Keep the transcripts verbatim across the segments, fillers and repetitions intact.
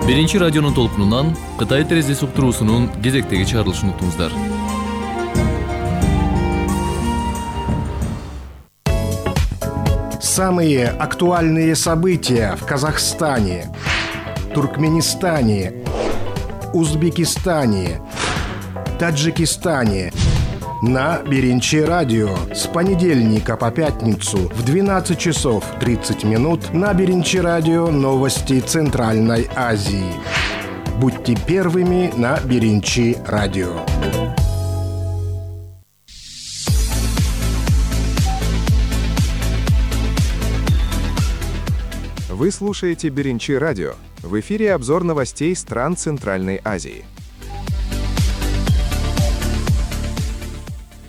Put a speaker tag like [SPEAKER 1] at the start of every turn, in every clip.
[SPEAKER 1] Биринчи радионун толкунунан Кытай терезеси уктуруусунун кезектеги чыгарылышын уктуңуздар.
[SPEAKER 2] Самые актуальные события в Казахстане, Туркменистане, Узбекистане, Таджикистане на Биринчи радио с понедельника по пятницу в двенадцать часов тридцать минут на Биринчи радио новости Центральной Азии. Будьте первыми на Биринчи радио.
[SPEAKER 3] Вы слушаете Биринчи радио. В эфире обзор новостей стран Центральной Азии.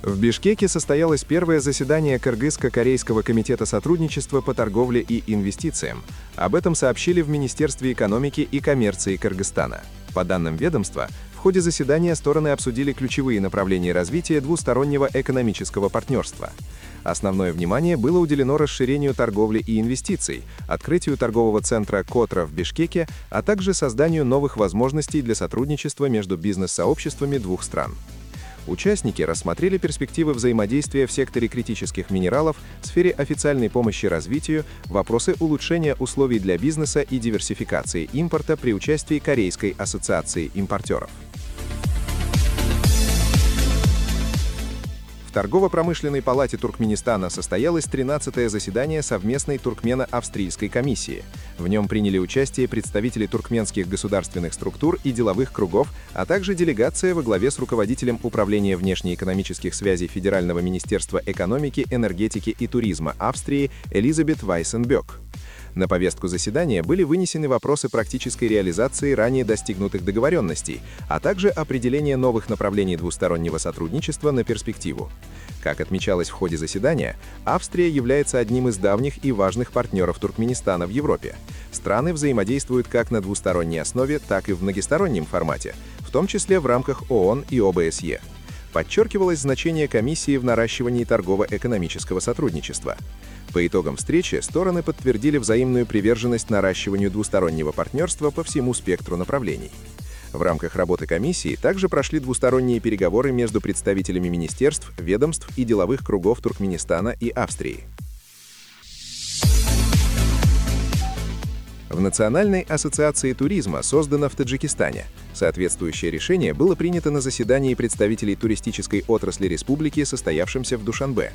[SPEAKER 3] В Бишкеке состоялось первое заседание Кыргызско-корейского комитета сотрудничества по торговле и инвестициям. Об этом сообщили в Министерстве экономики и коммерции Кыргызстана. По данным ведомства, в ходе заседания стороны обсудили ключевые направления развития двустороннего экономического партнерства. Основное внимание было уделено расширению торговли и инвестиций, открытию торгового центра «Котра» в Бишкеке, а также созданию новых возможностей для сотрудничества между бизнес-сообществами двух стран. Участники рассмотрели перспективы взаимодействия в секторе критических минералов, в сфере официальной помощи развитию, вопросы улучшения условий для бизнеса и диверсификации импорта при участии Корейской ассоциации импортеров. В Торгово-промышленной палате Туркменистана состоялось тринадцатое заседание совместной туркмено-австрийской комиссии. В нем приняли участие представители туркменских государственных структур и деловых кругов, а также делегация во главе с руководителем Управления внешнеэкономических связей Федерального министерства экономики, энергетики и туризма Австрии Элизабет Вайсенбёк. На повестку заседания были вынесены вопросы практической реализации ранее достигнутых договоренностей, а также определение новых направлений двустороннего сотрудничества на перспективу. Как отмечалось в ходе заседания, Австрия является одним из давних и важных партнеров Туркменистана в Европе. Страны взаимодействуют как на двусторонней основе, так и в многостороннем формате, в том числе в рамках ООН и ОБСЕ. Подчеркивалось значение комиссии в наращивании торгово-экономического сотрудничества. По итогам встречи стороны подтвердили взаимную приверженность наращиванию двустороннего партнерства по всему спектру направлений. В рамках работы комиссии также прошли двусторонние переговоры между представителями министерств, ведомств и деловых кругов Туркменистана и Австрии. В Национальной ассоциации туризма создана в Таджикистане. Соответствующее решение было принято на заседании представителей туристической отрасли республики, состоявшемся в Душанбе.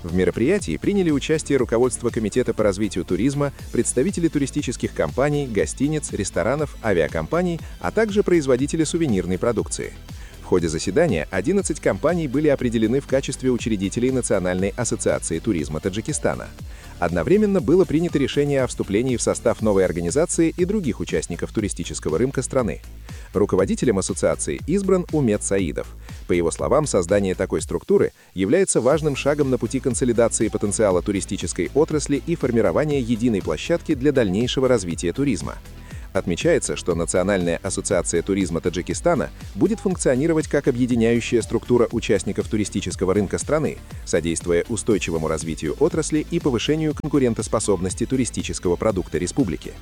[SPEAKER 3] В мероприятии приняли участие руководство Комитета по развитию туризма, представители туристических компаний, гостиниц, ресторанов, авиакомпаний, а также производители сувенирной продукции. В ходе заседания одиннадцать компаний были определены в качестве учредителей Национальной ассоциации туризма Таджикистана. Одновременно было принято решение о вступлении в состав новой организации и других участников туристического рынка страны. Руководителем ассоциации избран Умет Саидов. По его словам, создание такой структуры является важным шагом на пути консолидации потенциала туристической отрасли и формирования единой площадки для дальнейшего развития туризма. Отмечается, что Национальная ассоциация туризма Таджикистана будет функционировать как объединяющая структура участников туристического рынка страны, содействуя устойчивому развитию отрасли и повышению конкурентоспособности туристического продукта республики.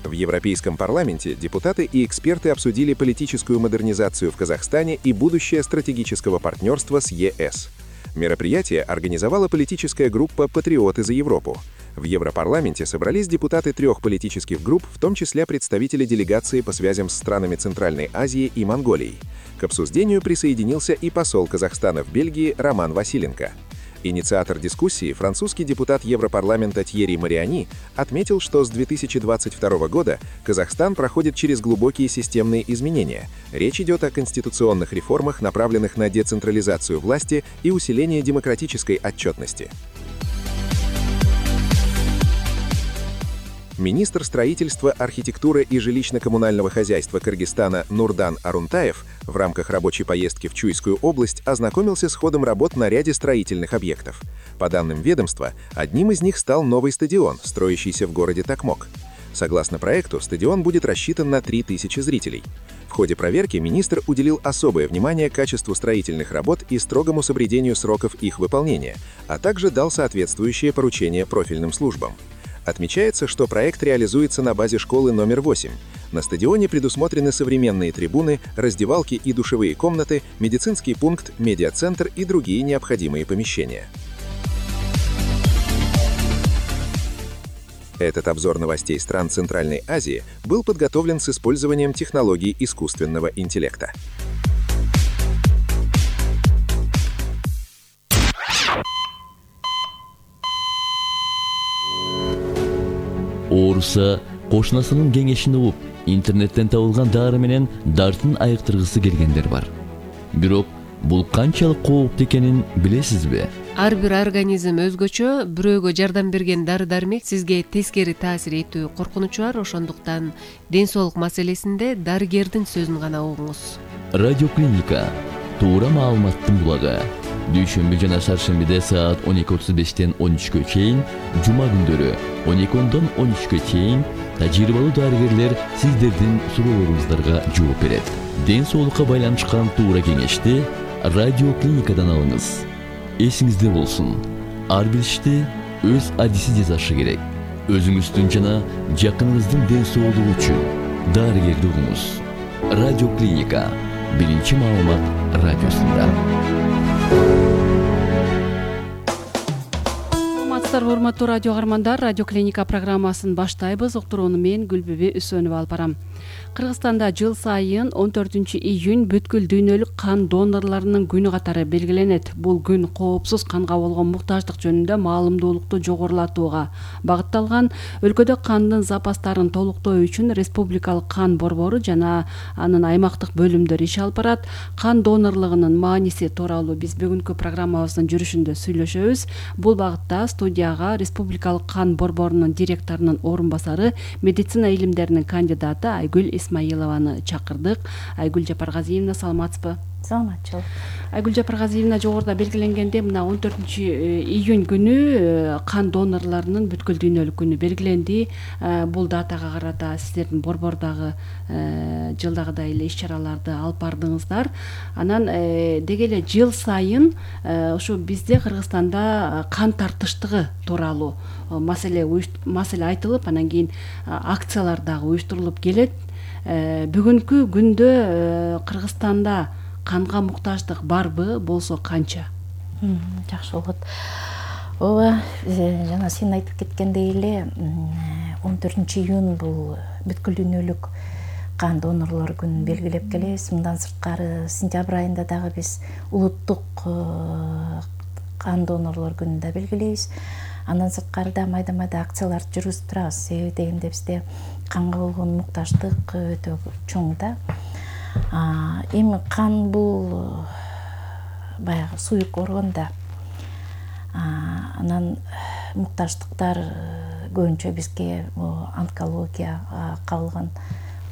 [SPEAKER 3] В Европейском парламенте депутаты и эксперты обсудили политическую модернизацию в Казахстане и будущее стратегического партнерства с ЕС. Мероприятие организовала политическая группа «Патриоты за Европу». В Европарламенте собрались депутаты трех политических групп, в том числе представители делегации по связям с странами Центральной Азии и Монголией. К обсуждению присоединился и посол Казахстана в Бельгии Роман Василенко. Инициатор дискуссии, французский депутат Европарламента Тьерри Мариани, отметил, что с две тысячи двадцать второго года Казахстан проходит через глубокие системные изменения. Речь идет о конституционных реформах, направленных на децентрализацию власти и усиление демократической отчетности. Министр строительства, архитектуры и жилищно-коммунального хозяйства Кыргызстана Нурдан Арунтаев в рамках рабочей поездки в Чуйскую область ознакомился с ходом работ на ряде строительных объектов. По данным ведомства, одним из них стал новый стадион, строящийся в городе Токмок. Согласно проекту, стадион будет рассчитан на три тысячи зрителей. В ходе проверки министр уделил особое внимание качеству строительных работ и строгому соблюдению сроков их выполнения, а также дал соответствующие поручения профильным службам. Отмечается, что проект реализуется на базе школы номер восемь. На стадионе предусмотрены современные трибуны, раздевалки и душевые комнаты, медицинский пункт, медиацентр и другие необходимые помещения. Этот обзор новостей стран Центральной Азии был подготовлен с использованием технологий искусственного интеллекта.
[SPEAKER 4] Ооруса кошунасынын кеңешин угуп, интернеттен табылган дары менен дартын айыктыргысы келгендер бар. Бирок бул канчалык кооптуу экенин билесизби?
[SPEAKER 5] Ар бир организм өзгөчө, бирөөгө жардам берген дары-дармек сизге тескери таасир этүү коркунучу бар, ошондуктан ден соолук маселесинде дарыгердин сөзүн гана угуңуз.
[SPEAKER 4] Радиоклиника туура маалыматтын булагы. Дүйшөмбү жана шаршембиде саат он эки отуз бештен он үчкө чейин, жума күндөрү он эки ондон он үчкө чейин тажрыйбалуу дарыгерлер сиздердин суроолоруңуздарга жооп берет. Ден соолукка байланышкан туура кеңешти радиоклиникадан алыңыз. Эсиңизде болсун, ар бир ишти өз адиси жасашы керек. Өзүңүздүн жана жакыныңыздын ден соолугу үчүн дарыгерди угуңуз. Радиоклиника биринчи маалымат радиосунда.
[SPEAKER 6] Урматтуу радио каармандар, Радиоклиника программасын баштайбыз. Уктурууну мен Гүлбүбү Үсөнова алып барам. Кыргызстанда жыл сайын он төртүнчү июнь бүткүл дүйнөлүк кан донорлорунун күнү катары белгиленет. Бул күн коопсуз канга болгон муктаждык жөнүндө маалымдуулукту жогорулатууга багытталган. Өлкөдө кандын запастарын толуктоо үчүн Республикалык кан борбору жана анын аймактык бөлүмдөрү иш алып барат. Кан донорлугунун мааниси тууралуу биз бүгүнкү программабыздын жүрүшүндө сүйлөшөбүз. Бул багытта студияга Республикалык кан борборунун директорунун орун басары, медицина илимдеринин кандидаты Айгүл Исмаилованы чакырдык. Айгүл Жапаргазиевна, саламатсызбы?
[SPEAKER 7] Саламатчылык.
[SPEAKER 6] Айгүл Жапаргазиевна, жогоруда белгиленгенде мына он төртүнчү июнь күнү кан донорлорунун бүткүл дүйнөлүк күнү белгиленди. Бул датага карата сиздердин борбордагы жылдагыдай эле иш-чараларды алып бардыңыздар. Анан деги эле жыл сайын ушу бизде Кыргызстанда кан тартыштыгы тууралуу маселе маселе айтылып, анан кийин акциялар дагы уюштурулуп келет. Бүгүнкү күндө Кыргызстанда канга муктаждык барбы, болсо канча?
[SPEAKER 7] Жакшы болот. Ооба, жана сен айтып кеткендей эле он төртүнчү июнь бул бүткүл дүйнөлүк кан донорлор күнүн белгилеп келебиз. Мындан сырткары сентябрь айында дагы биз улуттук кан донорлор күнүн да белгилейбиз. Андан сырткары да майда-майда акцияларды жүргүзүп турабыз. Себеби дегенде бизде канга болгон муктаждык өтө чоң да. Эми кан бул баягы суюк орган да. Анан муктаждыктар көбүнчө бизге онкология кабылган,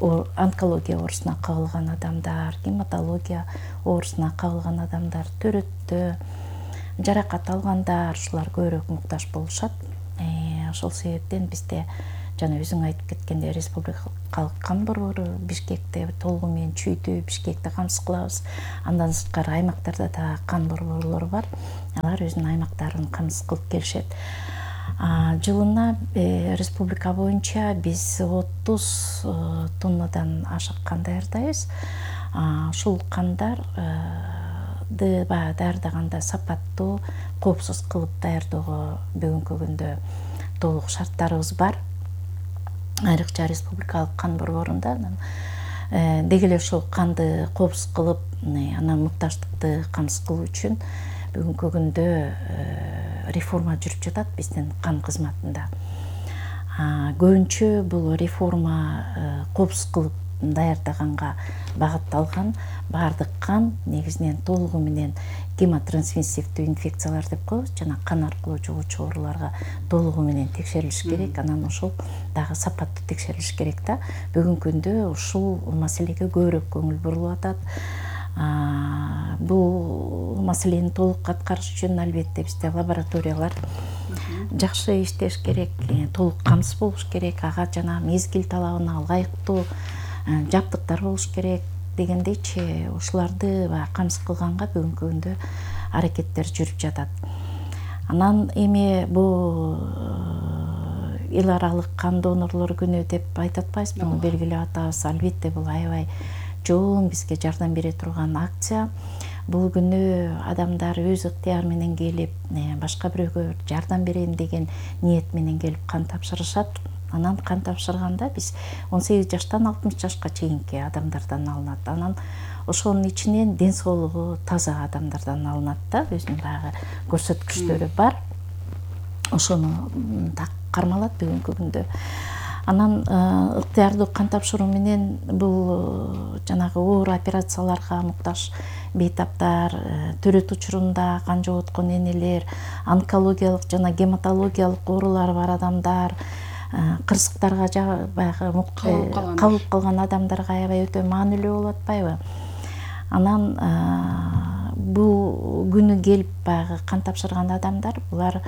[SPEAKER 7] онкология оорусуна кабылган адамдар, гематология оорусуна кабылган адамдар, төрөттө жаракат алгандар, ушулар көбүрөөк муктаж болушат. Ошол себептен бизде жана өзүң айтып кеткендей Республикалык кан борбору Бишкекте толугу менен чүйдү, Бишкекте камсыз кылабыз. Андан сырткары аймактарда да кан борборлору бар. Алар өзүнүн аймактарын камсыз кылып келишет. Жылына республика боюнча биз отуз тоннадан ашык кан даярдайбыз. Ушул кандар даярдаганда сапаттуу, коопсуз кылып даярдоого бүгүнкү күндө толук шарттарыбыз бар. Айрыкча Республикалык кан борборунда деги эле ошол канды коопсуз кылып, анан муктаждыкты камсыз кылуу үчүн бүгүнкү күндө реформа жүрүп жатат биздин кан кызматында. Көбүнчө бул реформа коопсуз кылып даярдаганга багытталган. Баардык кан негизинен толугу менен гемотрансмиссивдүү инфекциялар деп коебуз, жана кан аркылуу жугуучу ооруларга толугу менен текшерилиш керек. Анан ошол дагы сапаттуу текшерилиш керек да. Бүгүнкү күндө ушул маселеге көбүрөөк көңүл бурулуп атат. Бул маселени толук аткарыш үчүн албетте бизде лабораториялар жакшы иштеш керек, толук камсыз болуш керек, ага жана мезгил талабына ылайыктуу жабдыктар болуш керек дегендейчи, ушуларды камсыз кылганга бүгүнкү күндө аракеттер жүрүп жатат. Анан эми бул эл аралык кан донорлор күнү деп айтып атпайбызбы, белгилеп атабыз. Албетте бул аябай чоң бизге жардам бере турган акция. Бул күнү адамдар өз ыктыяры менен келип, башка бирөөгө жардам берейин деген ниет менен келип кан тапшырышат. Анан кан тапшырганда биз он сегиз жаштан алтымыш жашка чейинки адамдардан алынат. Анан ошонун ичинен ден соолугу таза адамдардан алынат да, өзүнүн баягы көрсөткүчтөрү бар. Ошону кармалат бүгүнкү күндө. Анан ыктыярдуу кан тапшыруу менен бул жанагы оор операцияларга муктаж бейтаптар, төрөт учурунда кан жоготкон энелер, онкологиялык жана гематологиялык оорулары бар адамдар, кырсыктарга жа баягы кабылып калган адамдарга аябай өтө маанилүү болуп атпайбы? Анан бул күнү келип баягы кан тапшырган адамдар булар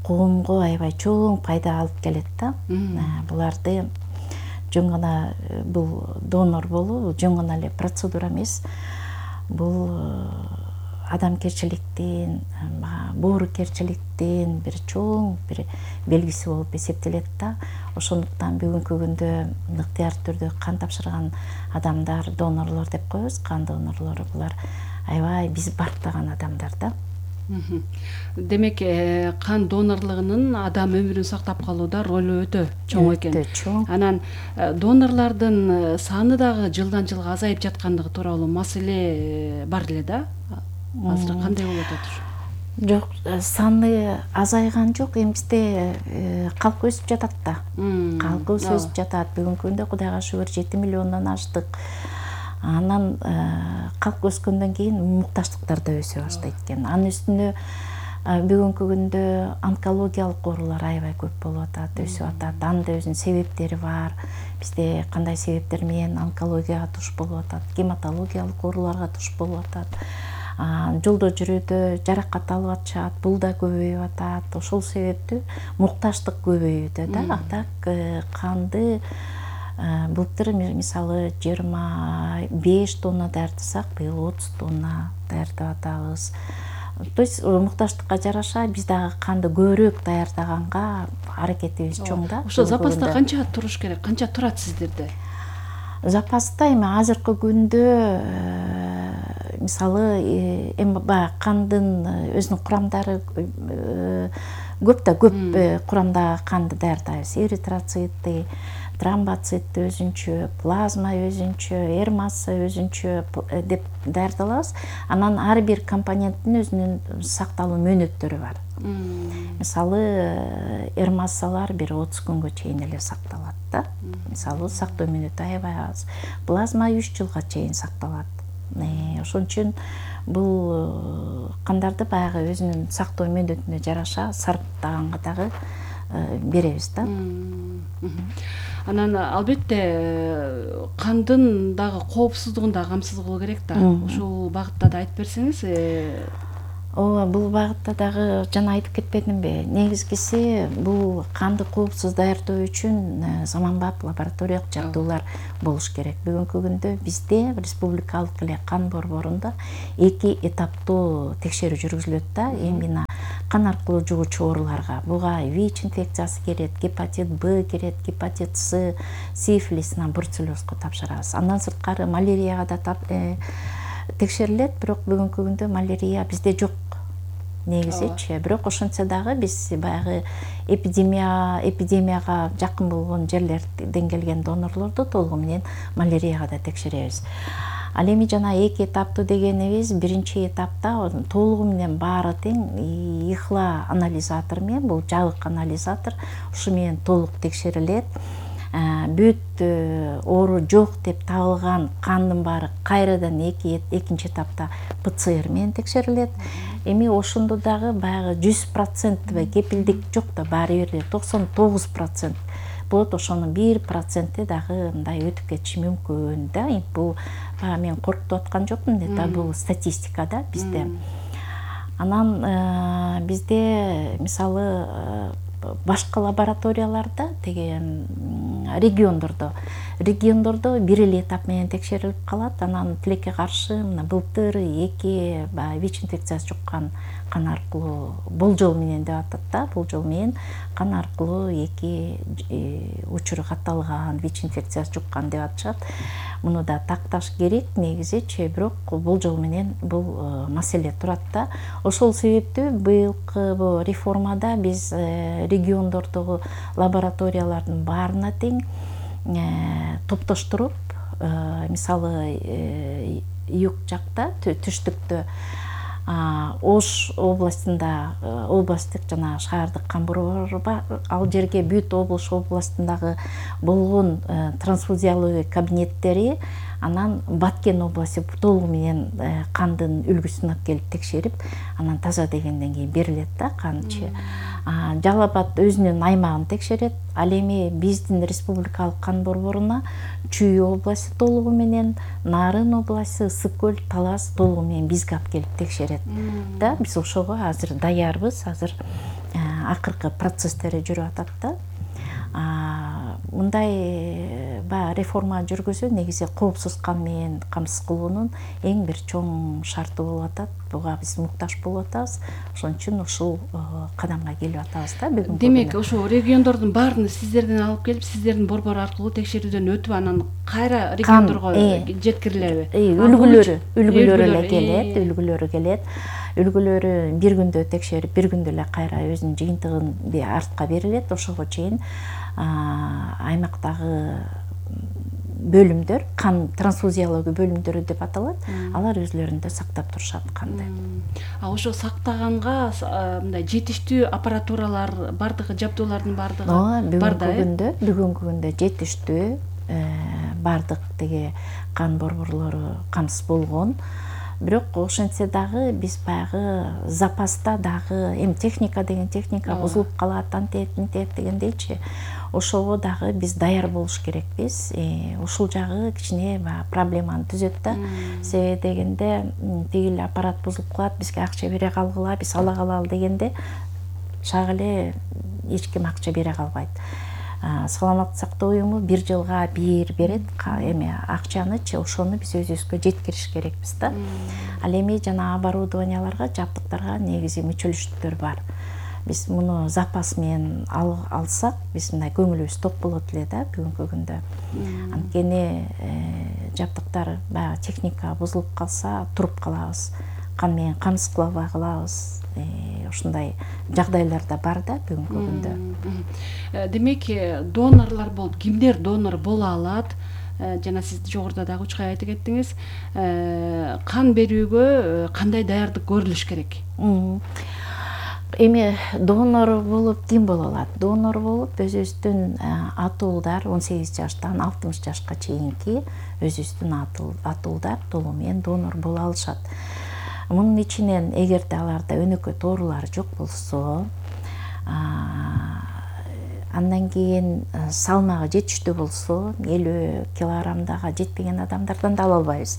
[SPEAKER 7] коомго аябай чоң пайда алып келет да. Буларды жөн гана бул донор болуу жөн гана эле процедура эмес. Бул адамгерчиликтин, боорукерчиликтин бир чоң бир белгиси болуп эсептелет да. Ошондуктан бүгүнкү күндө ыктыярдуу түрдө кан тапшырган адамдар донорлор деп коебуз. Кан донорлору булар аябай биз бартаган адамдар да.
[SPEAKER 6] Демек, кан донорлугунун адам өмүрүн сактап калууда ролу өтө чоң экен.
[SPEAKER 7] Өтө чоң.
[SPEAKER 6] Анан донорлордун саны дагы жылдан жылга азайып жаткандыгы тууралуу маселе бар эле да. Азыр кандай болуп атат?
[SPEAKER 7] Жок, саны азайган жок. Эми бизде калк өсүп жатат да. Калкыбыз өсүп жатат. Бүгүнкү күндө Кудайга шүгүр жети миллиондон аштык. Анан калк өскөндөн кийин муктаждыктар да өсө баштайт экен. Анын үстүнө бүгүнкү күндө онкологиялык оорулар аябай көп болуп атат, өсүп атат. Анын да өзүнүн себептери бар. Бизде кандай себептер менен онкологияга туш болуп атат, гематологиялык ооруларга туш болуп атат. Жолдо жүрүүдө жаракат алып атышат, бул да көбөйүп атат. Ошол себептүү муктаждык көбөйүүдө да. Так канды былтыр мисалы жыйырма беш тонна даярдасак, быйыл отуз тонна даярдап атабыз. То есть муктаждыкка жараша биз дагы канды көбүрөөк даярдаганга аракетибиз чоң да.
[SPEAKER 6] Ошо запаста канча туруш керек? Канча турат сиздерде?
[SPEAKER 7] Запаста эми азыркы күндө мисалы эми баягы кандын өзүнүн курамдары көп да, көп курамдагы канды даярдайбыз. Эритроцитти, тромбоцит өзүнчө, плазма өзүнчө, эр масса өзүнчө деп даярдалабыз. Анан ар бир компоненттин өзүнүн сакталуу мөөнөттөрү бар. Мисалы эр массалар бир отуз күнгө чейин эле сакталат да. Мисалы сактоо мөөнөтү аябай аз. Плазма үч жылга чейин сакталат. Ошон үчүн бул кандарды баягы өзүнүн сактоо мөөнөтүнө жараша сарптаганга дагы беребиз да.
[SPEAKER 6] Анан албетте кандын дагы коопсуздугун да камсыз кылуу керек да. Ушул багытта да айтып берсеңиз.
[SPEAKER 7] Ооба, бул багытта дагы жана айтып кетпедимби? Негизгиси бул канды коопсуз даярдоо үчүн заманбап лабораториялык жабдуулар болуш керек. Бүгүнкү күндө бизде республикалык эле кан борборунда эки этаптуу текшерүү жүргүзүлөт да. Эми кан аркылуу жугуучу ооруларга буга ВИЧ инфекциясы кирет, гепатит Б кирет, гепатит С, сифилис, бруцеллезго тапшырабыз. Андан сырткары малярияга да текшерилет, бирок бүгүнкү күндө малярия бизде жок. Негизичи, бирок ошентсе дагы биз баягы эпидемия эпидемияга жакын болгон жерлерден келген донорлорду толугу менен малярияга да текшеребиз. Ал эми жана эки этаптуу дегенибиз, биринчи этапта толугу менен баары тең ихла анализатор менен, бул жабык анализатор, ушу менен толук текшерилет. Бүт оору жок деп табылган кандын баары кайрадан экинчи этапта П Ц Р менен текшерилет. Эми ошондо дагы баягы жүз процент кепилдик жок да, баары бир токсон тогуз процент болот. Ошонун бир проценти дагы мындай өтүп кетиши мүмкүн да. Бул баягы мен коркутуп аткан жокмун да, бул статистика да бизде. Анан бизде мисалы башка лабораторияларда деген региондордо региондордо бир эле этап менен текшерилип калат. Анан тилекке каршы мына былтыр эки баягы ВИЧ инфекциясы жуккан кан аркылуу болжол менен деп атат да, болжол менен кан аркылуу эки учуру катталган, ВИЧ инфекциясы жуккан деп атышат. Муну да такташ керек негизичи, бирок болжол менен бул маселе турат да. Ошол себептүү быйылкы бу реформада биз региондордогу лабораториялардын баарына тең топтоштуруп, мисалы юг жакта, түштүктө Ош областында, областтык жана шаардык кан борбору бар, ал жерге бүт Ош областындагы болгон трансфузиялык кабинеттери, анан Баткен областы толугу менен кандын үлгүсүн алып келип текшерип, анан таза дегенден кийин берилет да канчы. Жалал Абад өзүнүн аймагын текшерет. Ал эми биздин республикалык кан борборуна Чүй областы толугу менен, Нарын областы, Ысык көл, Талас толугу менен бизге алып келип текшерет да. Биз ошого азыр даярбыз, азыр акыркы процесстери жүрүп атат да. Мындай баягы реформа жүргүзүү негизи коопсуз кан менен камсыз кылуунун эң бир чоң шарты болуп атат. Буга биз муктаж болуп атабыз. Ошон үчүн ушул кадамга келип атабыз да бүгүн.
[SPEAKER 6] Демек, ошо региондордун баарын сиздерден алып келип, сиздердин борбор аркылуу текшерүүдөн өтүп, анан кайра региондорго жеткирилеби?
[SPEAKER 7] Үлгүлөрү, үлгүлөрү эле келет, үлгүлөрү келет. Үлгүлөрү бир күндө текшерип, бир күндө эле кайра өзүнүн жыйынтыгын артка берилет. Ошого чейин аймактагы бөлүмдөр, кан трансфузиология бөлүмдөрү деп аталат, алар өзлөрүндө сактап турушат канды.
[SPEAKER 6] А ошо сактаганга мындай жетиштүү аппаратуралар, бардыгы жабдуулардын бардыгы бар да?
[SPEAKER 7] Бүгүнкү күндө жетиштүү бардык теге кан борборлору камсыз болгон. Бирок ошентсе дагы биз баягы запаста дагы эми техника деген техника бузулуп калат, антет, ментет дегендейчи. Ошого дагы биз даяр болуш керекпиз. Ушул жагы кичине проблеманы түзөт да. Себеби дегенде тигил аппарат бузулуп калат, бизге акча бере калгыла, биз ала калалы дегенде шак эле эч ким акча бере калбайт. Саламаттык сактоо уюму бир жылга бир берет, эми акчанычы ошону биз өзүбүзгө жеткириш керекпиз да. Ал эми жана оборудованияларга, жабдыктарга негизи мүчөлүштүктөр бар. Биз муну запас менен алсак, биз мындай көңүлүбүз топ болот эле да бүгүнкү күндө. Анткени жабдыктар, баягы техника бузулуп калса, туруп калабыз. Кан менен камсыз кыла албай калабыз. Ушундай жагдайлар да бар да бүгүнкү күндө.
[SPEAKER 6] Демек, донорлор болуп, кимдер донор боло алат? Жана сиз жогоруда дагы үч айтып кеттиңиз. Кан берүүгө кандай даярдык көрүлүш керек?
[SPEAKER 7] Эми донор болуп ким боло алат? Донор болуп өзүбүздүн атуулдар он сегиз жаштан алтымыш жашка чейинки өзүбүздүн атуулдар толугу менен донор боло алышат. Мунун ичинен эгерде аларда өнөкөй тоорулары жок болсо, андан кийин салмагы жетиштүү болсо, элүү килограммдага жетпеген адамдардан да ала албайбыз.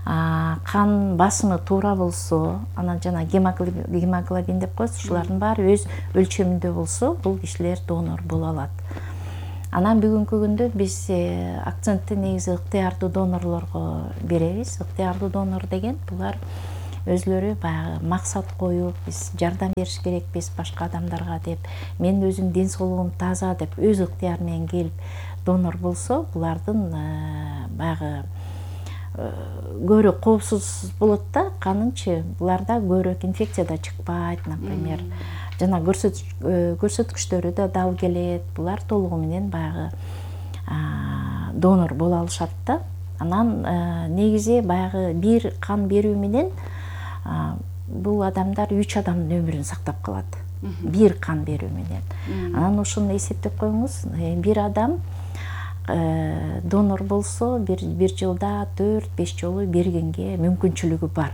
[SPEAKER 7] Кан басымы туура болсо, анан жана гемоглобин деп коебуз, ушулардын баары өз өлчөмүндө болсо, бул кишилер донор боло алат. Анан бүгүнкү күндө биз акцентти негизи ыктыярдуу донорлорго беребиз. Ыктыярдуу донор деген булар өзлөрү баягы максат коюп, биз жардам бериш керекпиз башка адамдарга деп, мен өзүм ден соолугум таза деп өз ыктыяры менен келип донор болсо, булардын баягы көбүрөөк коопсуз болот да, канынчы. Буларда көбүрөөк инфекция да чыкпайт, например. Жана көрсөткүчтөрү да дал келет. Булар толугу менен баягы донор боло алышат да. Анан негизи баягы бир кан берүү менен бул адамдар үч адамдын өмүрүн сактап калат. Бир кан берүү менен. Анан ошону эсептеп коюңуз, бир адам донор болсо, бир жылда төрт беш жолу бергенге мүмкүнчүлүгү бар.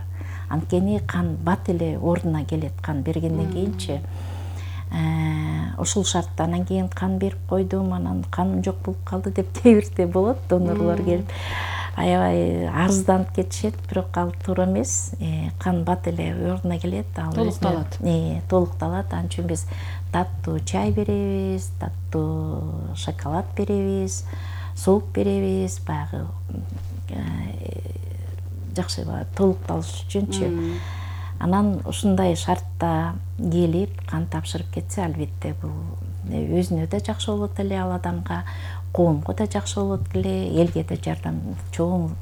[SPEAKER 7] Анткени кан бат эле ордуна келет, кан бергенден кийинчи. Ошол шартта анан кийин кан берип койдум, анан каным жок болуп калды деп кээ бирде болот, донорлор келип аябай арызданып кетишет, бирок ал туура эмес. Кан бат эле ордуна келет, ал
[SPEAKER 6] толукталат.
[SPEAKER 7] Толукталат. Анын үчүн биз таттуу чай беребиз, таттуу шоколад беребиз, сууп беребиз, баягы жакшы толукталыш үчүнчү. Анан ушундай шартта келип кан тапшырып кетсе, албетте бул өзүнө да жакшы болот эле, ал адамга, коомго да жакшы болот эле, элге да жардам, чоң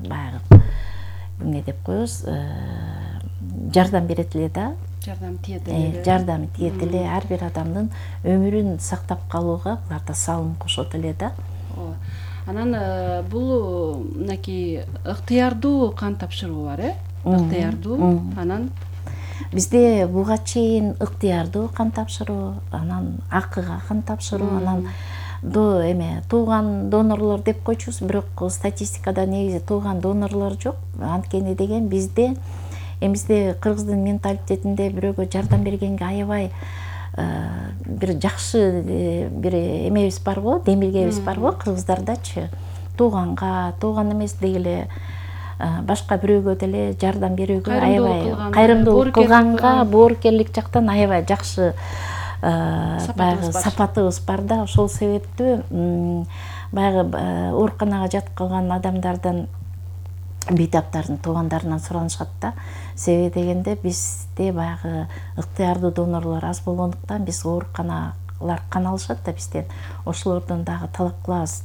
[SPEAKER 7] баягы эмне деп коебуз, жардам берет эле да.
[SPEAKER 6] Жардам тиет эле.
[SPEAKER 7] Жардам тиет эле, ар бир адамдын өмүрүн сактап калууга булар да салым кошот эле да.
[SPEAKER 6] Анан бул мынакей ыктыярдуу кан тапшыруу бар, э? Ыктыярдуу. Анан
[SPEAKER 7] бизде буга чейин ыктыярдуу кан тапшыруу, анан акыга кан тапшыруу, анан до эме тууган донорлор деп койчубуз, бирок статистикада негизи тууган донорлор жок. Анткени деген бизде эмизде кыргыздын менталитетинде бирөөгө жардам бергенге аябай бир жакшы бир эмебиз бар го, демилгебиз бар го кыргыздардачы. Тууганга, тууган эмес дегеле башка бирөөгө деле жардам берүүгө аябай кайрымдуулук кылганга, боорукерлик жактан аябай жакшы баягы сапатыбыз бар да. Ошол себептүү баягы ооруканага жатып калган адамдардан, бейтаптардын туугандарынан суранышат да. Себеби дегенде бизде баягы ыктыярдуу донорлор аз болгондуктан биз ооруканалар кан алышат да бизден. Ошолордон дагы талап кылабыз,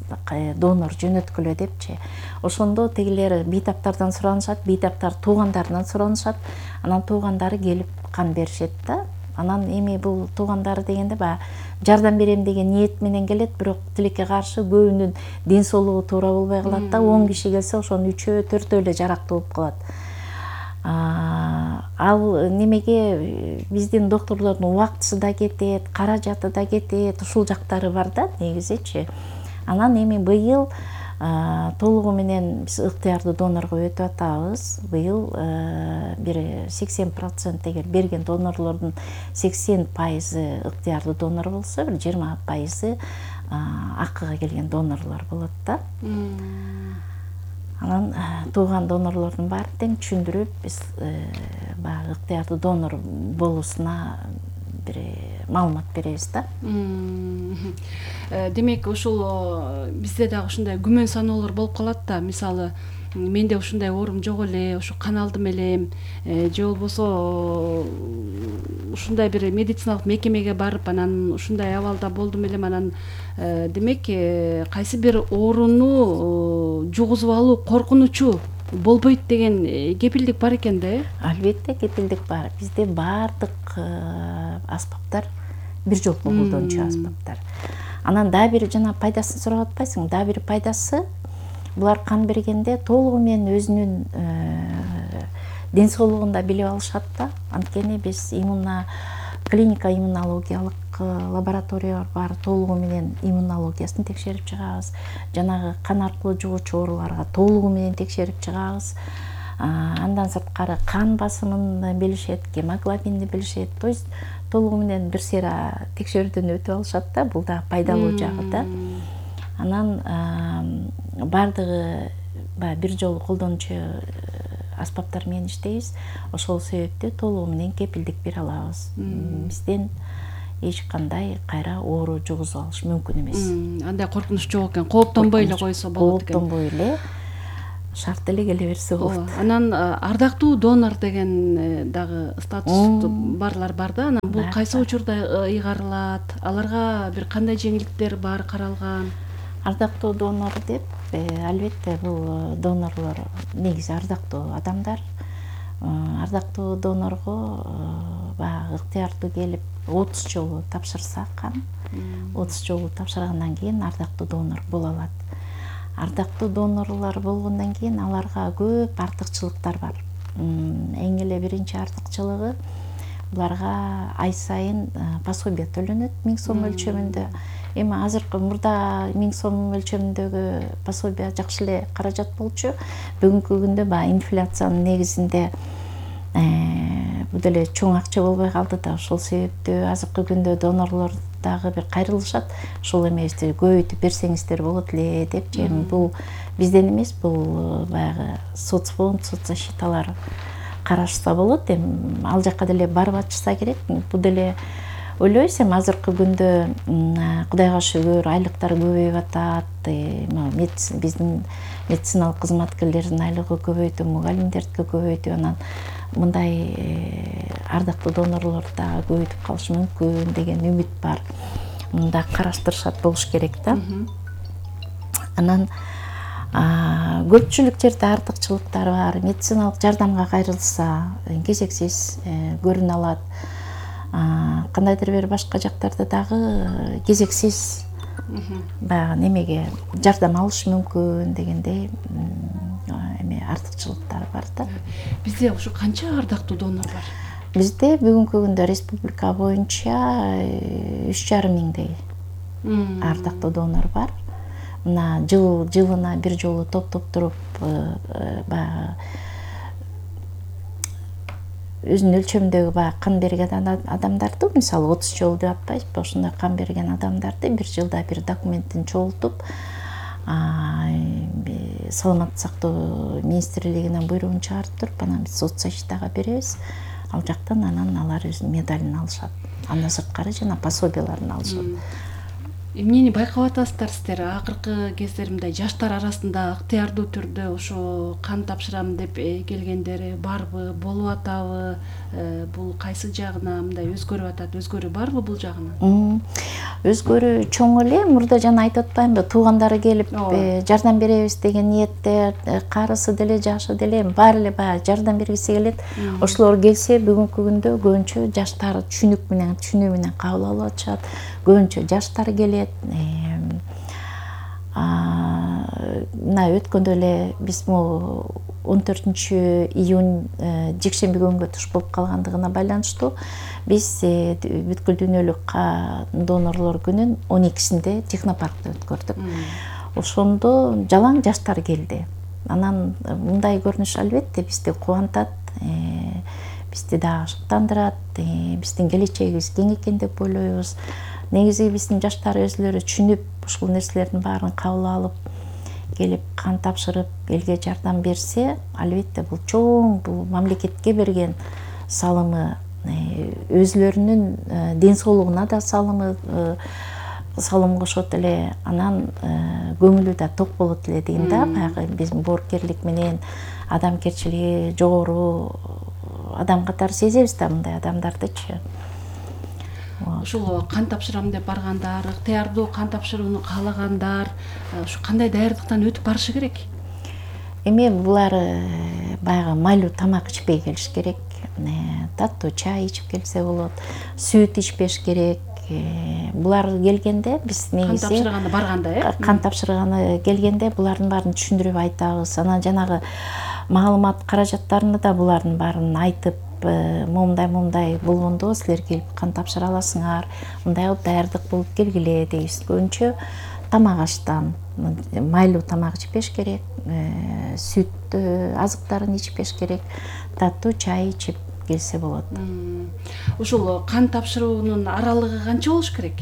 [SPEAKER 7] донор жөнөткүлө депчи. Ошондо тегилер бейтаптардан суранышат, бейтаптар туугандарынан суранышат. Анан туугандары келип кан беришет да. Анан эми бул туугандары дегенде баягы жардам берем деген ниет менен келет, бирок тилекке каршы көбүнүн ден соолугу туура болбой калат да. он киши келсе ошонун үчөө, төртөө эле жарактуу болуп калат. Ал немеге биздин докторлордун убактысы да кетет, каражаты да кетет, ушул жактары бар да негизичи. Анан эми быйыл толугу менен биз ыктыярдуу донорго өтүп атабыз. Быйыл бир сексен процент эгер берген донорлордун сексен пайызы ыктыярдуу донор болсо, бир жыйырма пайызы акыга келген донорлор болот да. Анан тууган донорлордун баарын тең түшүндүрүп, биз баягы ыктыярдуу донор болуусуна бир маалымат беребиз да.
[SPEAKER 6] Демек, ушул бизде дагы ушундай күмөн саноолор болуп калат да. Мисалы, менде ушундай оорум жок эле, ушу кан алдым элем, же болбосо ушундай бир медициналык мекемеге барып, анан ушундай абалда болдум элем, анан демек кайсы бир ооруну жугузуп алуу коркунучу болбойт деген кепилдик бар экен да, э?
[SPEAKER 7] Албетте кепилдик бар. Бизде баардык аспаптар бир жолку колдончу аспаптар. Анан дагы бир жана пайдасын сурап атпайсың, дагы бир пайдасы булар кан бергенде толугу менен өзүнүн ден соолугун да билип алышат да. Анткени биз иммуна клиника иммунологиялык лаборатория бар, толугу менен иммунологиясын текшерип чыгабыз. Жанагы кан аркылуу жугуучу ооруларга толугу менен текшерип чыгабыз. Андан сырткары кан басымын билишет, гемоглобинди билишет. То есть толугу менен бир сыйра текшерүүдөн өтүп алышат да. Бул да пайдалуу жагы да. Анан бардыгы бир жолу колдончу аспаптар менен иштейбиз. Ошол себептүү толугу менен кепилдик бере алабыз. Бизден эч кандай кайра оору жугузуп алыш мүмкүн эмес.
[SPEAKER 6] Андай коркунуч жок экен. Кооптонбой эле койсо болот экен.
[SPEAKER 7] Кооптонбой эле шарт эле келе берсе болот.
[SPEAKER 6] Анан ардактуу донор деген дагы статус барлар бар да. Анан бул кайсы учурда ыйгарылат? Аларга бир кандай жеңилдиктер бар каралган?
[SPEAKER 7] Ардактуу донор деп, албетте бул донорлор негизи ардактуу адамдар. Ардактуу донорго баягы ыктыярдуу келип отуз жолу тапшырса кан, отуз жолу тапшыргандан кийин ардактуу донор боло алат. Ардактуу донорлор болгондон кийин аларга көп артыкчылыктар бар. Эң эле биринчи артыкчылыгы буларга ай сайын пособие төлөнөт миң сом өлчөмүндө. Эми азыркы мурда миң сом өлчөмүндөгү пособие жакшы эле каражат болчу. Бүгүнкү күндө баягы инфляциянын негизинде бул деле чоң акча болбой калды да. Ошол себептүү азыркы күндө донорлор дагы бир кайрылышат. Ушул эмебизди көбөйтүп берсеңиздер болот эле депчи. Бул бизден эмес, бул баягы соцфонд, соцзащиталар карашса болот. Эми ал жакка деле барып ачса керек. Бул деле ойлойбуз эми азыркы күндө Кудайга шүгүр айлыктар көбөйүп атат, биздин медициналык кызматкерлердин айлыгы көбөйдү, мугалимдердики көбөйдү, анан мындай ардактуу донорлор да көбөйтүп калышы мүмкүн деген үмүт бар. Мында караштырышат болуш керек да. Анан көпчүлүк жерде артыкчылыктар бар. Медициналык жардамга кайрылса кезексиз көрүнө алат. Кандайдыр бир башка жактарда дагы кезексиз баягы немеге жардам алыш мүмкүн дегендей эме артыкчылыктар бар да.
[SPEAKER 6] Бизде ушу канча ардактуу донор бар?
[SPEAKER 7] Бизде бүгүнкү күндө республика боюнча үч жарым миңдей ардактуу донор бар. Мына жыл жылына бир жолу топтоп туруп баягы өзүнүн өлчөмүндөгү баягы кан берген адамдарды, мисалы отуз жолу деп атпайбызбы, ошондой кан берген адамдарды бир жылда бир документин чогултуп, саламаттык сактоо министрлигинен буйругун чыгарып туруп, анан биз соцзащитага беребиз. Ал жактан анан алар өзүнүн медалин алышат. Андан сырткары жана пособияларын алышат.
[SPEAKER 6] Эмнени байкап атасыздар сиздер? Акыркы кездер мындай жаштар арасында ыктыярдуу түрдө ошо кан тапшырам деп келгендер барбы, болуп атабы? Бул кайсы жагына мындай өзгөрүп атат? Өзгөрүү барбы бул жагынан?
[SPEAKER 7] Өзгөрүү чоң эле. Мурда жана айтып атпаймынбы, туугандары келип жардам беребиз деген ниетте, карысы деле, жашы деле баары эле баягы жардам бергиси келет. Ошолор келсе бүгүнкү күндө көбүнчө жаштар түшүнүк менен, түшүнүү менен кабыл алып атышат. Көбүнчө жаштар келет. Мына өткөндө эле биз могу он төртүнчү июнь жекшемби күнгө туш болуп калгандыгына байланыштуу биз бүткүл дүйнөлүк донорлор күнүн он экисинде технопаркта өткөрдүк. Ошондо жалаң жаштар келди. Анан мындай көрүнүш албетте бизди кубантат, бизди дагы шыктандырат, биздин келечегибиз кең экен деп ойлойбуз. Негизи биздин жаштар өзүлөрү түшүнүп, ушул нерселердин баарын кабыл алып, келип кан тапшырып, элге жардам берсе, албетте бул чоң, бул мамлекетке берген салымы, өзүлөрүнүн ден соолугуна да салымы, салым кошот эле, анан көңүлү да ток болот эле дейин да. Баягы биздин боорукерлик менен адамгерчилиги жогору адам катары сезебиз да мындай адамдардычы.
[SPEAKER 6] Ушул кан тапшырам деп баргандар, ыктыярдуу кан тапшырууну каалагандар, ушу кандай даярдыктан өтүп барышы керек?
[SPEAKER 7] Эми булар баягы майлуу тамак ичпей келиш керек. Таттуу чай ичип келсе болот, сүт ичпеш керек. Булар келгенде биз негизи
[SPEAKER 6] кан тапшырганы барганда, э?
[SPEAKER 7] Кан тапшырганы келгенде булардын баарын түшүндүрүп айтабыз. Анан жанагы маалымат каражаттарына да булардын баарын айтып, момундай момундай болгондо силер келип кан тапшыра аласыңар, мындай кылып даярдык болуп келгиле дейбиз. Көбүнчө тамак аштан майлуу тамак ичпеш керек, сүт азыктарын ичпеш керек, таттуу чай ичип келсе болот.
[SPEAKER 6] Ушул кан тапшыруунун аралыгы канча болуш керек?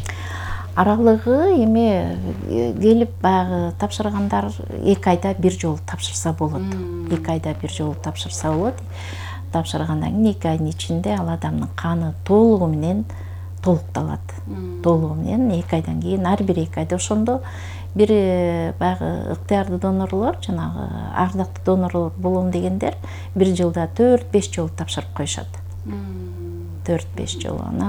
[SPEAKER 7] Аралыгы эми келип баягы тапшыргандар эки айда бир жолу тапшырса болот. эки айда бир жолу тапшырса болот. Тапшыргандан кийин эки айдын ичинде ал адамдын каны толугу менен толукталат. Толугу менен эки айдан кийин, ар бир эки айда. Ошондо бир баягы ыктыярдуу донорлор, жанагы ардактуу донорлор болом дегендер бир жылда төрт беш жолу тапшырып коюшат. төрт беш жолу. Анан